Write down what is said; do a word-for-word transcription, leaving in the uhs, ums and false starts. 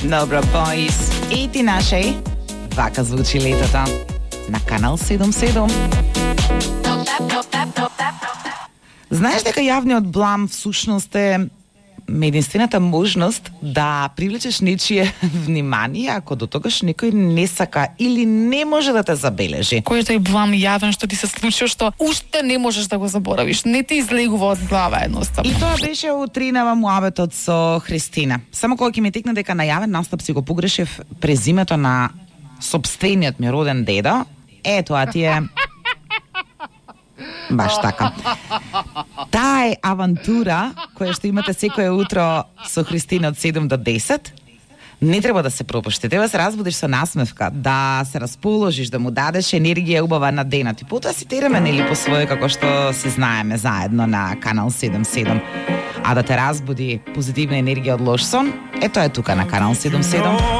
Добро, boys. И ти нашеј. Вака звучи летото на Канал седум седум. Знаеш дека јавниот блам всушност е единствената можност да привлечеш нечие внимание ако до тогаш некој не сака или не може да те забележи. Кој е тој блам јавен што ти се случи, што уште не можеш да го заборавиш, не ти излегува од глава едноставно. И тоа беше утринава муабетот со Христина. Само кога ќе ми текна дека на јавен настап си го погрешив презимето на сопствениот ми роден дедо, е тоа ти е баш така. Таа е авантура која што имате секое утро со Христина од седум до десет. Не треба да се пропушти, треба да се разбудиш со насмевка, да се расположиш, да му дадеш енергија убава на денот. И потоа си тереме нели по своје како што се знаеме заедно на Канал седум седум. А да те разбуди позитивна енергија од лош сон, е тоа е тука на Канал седум седум.